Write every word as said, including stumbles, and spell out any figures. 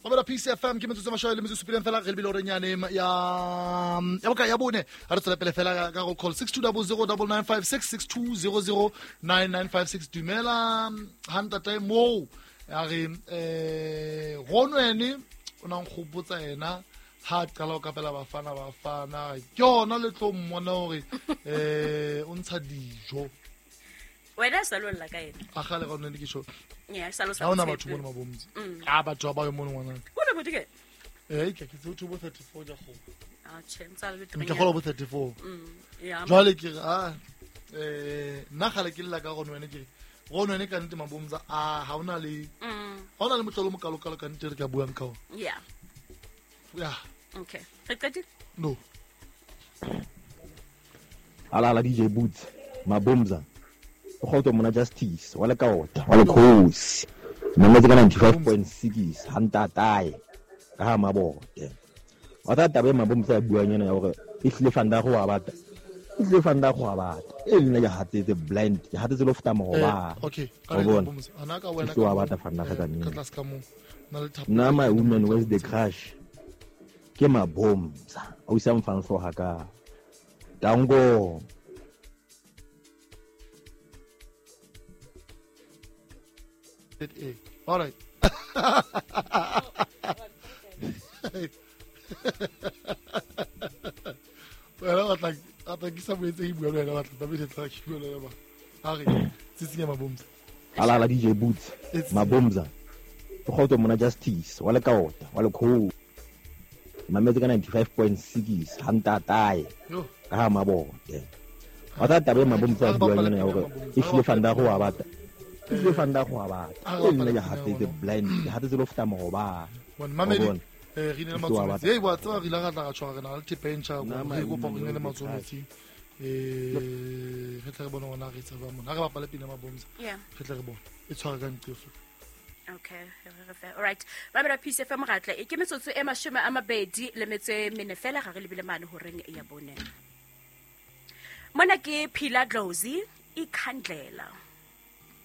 Mamela P C F M ke metsotso mashome le metsotso supileng fela re lebile horeng yane ya ya boka ya bone. Ha re tswela pele fela ka go call six two zero zero nine nine five six, six two zero zero nine nine five six. Dumela ha ntate moo ya re eh Ronwene o nang gopotsa ena ha a qala ho kapela Bafana Bafana ke yona le tlo mmona hore eh o ntsha dijo. Wena sa lo lla ka ena. A gale Ronwene ke sho. Yeah, sa lo sa. Ha ona batho mono mabomtsi a batho ba ba yo mono ngwana. O le botike. Eh ke ke tse bo thirty-four ja go. Ah, che, ntsa le ke gola bo thirty-four. Mm. Yeah. Jwale ke re ah eh nna gale ke lla ka Ronwene ke re Ronwene ka nnete mabomtsa a ha ona le Mm. ha ona le motlolo mo kalo kalo ka nnete re ka buang ka ona. Yeah. Yeah. Okay. Re qetile? No. Ala ala D J Boots Mabomza o kgotso mona Justice wa le kaota wa le khosi mametse ka ninety-five point six hantatae ka ha mabote wa tsa taba e Mabomza ya buang yena ya hore e hlile fanda go wa bata e hlile fanda go wa bata e nna ke hatsetse blind ke hatsetse lo feta moroba. Eh, okay. Wa bona? Ana ka wena E hlile wa bata fanda ga ka ka nnete. Tlase ka mo na le thapo. Nna my woman, where's the crush ke Mabomza o isa mfang hloha ka dango. Eh, all right. Wena batla batla ke sa boetse ke bua le wena batla tlamehile tla ke bua le wena ba. A re tsitsinya Mabomza. Ala ala D J Boots It's- Mabomza o kgotso mona Justice wa le kaota wa le khosi mametse ka ninety-five point six hantatae Yo. ka ha mabote wa tsa taba e Mabomza ya buang yena ya hore e hlile fanda go wa bata e hlile fanda go wa bata e nna ke hatsetse blind ke hatsetse lo feta moroba. Bon mamedi Wa bona? eh re ne le Ke wa matsometsi. batla. Hey wa tseba re ile ra tla ra tshwara re na le thepa e ntjha Nna re my kopa woman re ne le where's the matsometsi. Eh re tle re bone hore na re etsa jwang mona. Ha re bapale pina Mabomza. Yeah. Re tle re bone. E tshwara ka ntlo. Okay, re fe. All right. Mamela Peace F M ratle. E ke metsotso e mashome a mabedi le metso e mene fela ga re lebile mane horeng ya bone. Mona ke Phila Dlozi ikhandlela.